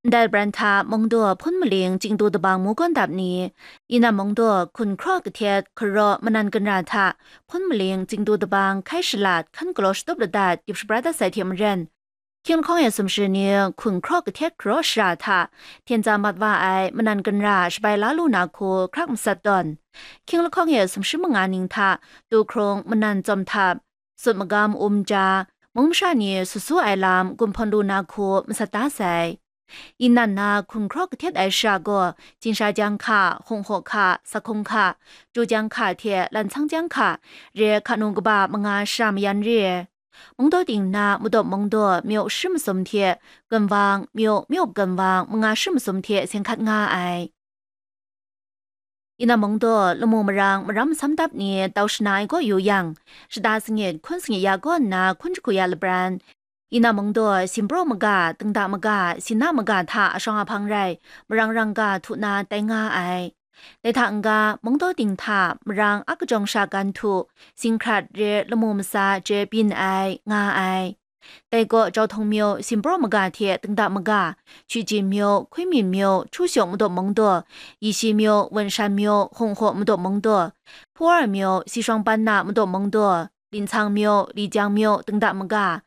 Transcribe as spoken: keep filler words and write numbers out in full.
Ndai bran hta Mungdaw, Hpun Maling, Chingdu Dabang mu gawn dap ni, Inan Mungdaw, Hkun Hkraw Kahtet, Hkaraw, Manan Ganra hta Hpun Maling, Chingdu Dabang, Hkai Shalat, Hkan Galaw Shatup Ladat, Gyip Shabra Dat Sai hte maren, Hkying lahkawng e sumshi ni Hkun Hkraw Kahtet Hkaraw Shara hta hten tsa mat wa ai Manan Ganra shabai la lu na hku hkrak matsat tawn, Hkying lahkawng e sumshi manga ning hta Tuhkrung, Manan Tsawm Htap, Sut Magam, Um Ja, mung masha ni sut su ai lam gun hpawn lu na hku matsat da sai. Inan na Hkun Hkraw Kahtet ai shara gaw Jingsha Jang Hka, Hkung Hkaw Hka, Sakhung Hka, Ju Jang Hka hte Lantsang Jang Hka re hka nu kaba manga shara mayan re. Mungdaw ting na Madaw Mungdaw, Myaw Shri Masum hte Ganwang, Myaw, Myaw Ganwang, manga shri masum hte seng hkat nga ai. Inan Mungdaw, lamu marang maram masam dap ni tau shana ai kaw yu yang, shata sangit hkun sangit ya kaw nna hkun jahku ya labran, Inan Mungdaw, Simpraw Maga, Tengda Maga, Sina Maga hta ashawng ahpang rai, marang rangga htu na tai nga ai. Dai hta n-ga, Mungdaw ting hta marang a kajawng sha gan htu, Singhkrat re lamu masa je byin ai, nga ai. Dai kaw Jauhtawng Myaw, Simpraw Maga hte Tengda Maga, Chwiji Myaw, Hkui Min Myaw, Htu Shawk Madaw Mungdaw, Yishi Myaw, Wenshan Myaw, Hkung Hkaw Madaw Mungdaw, Hpuwar Myaw, Sishawng Ban Na Madaw Mungdaw, Lintsang Myaw, Lijang Myaw, Tengda Maga,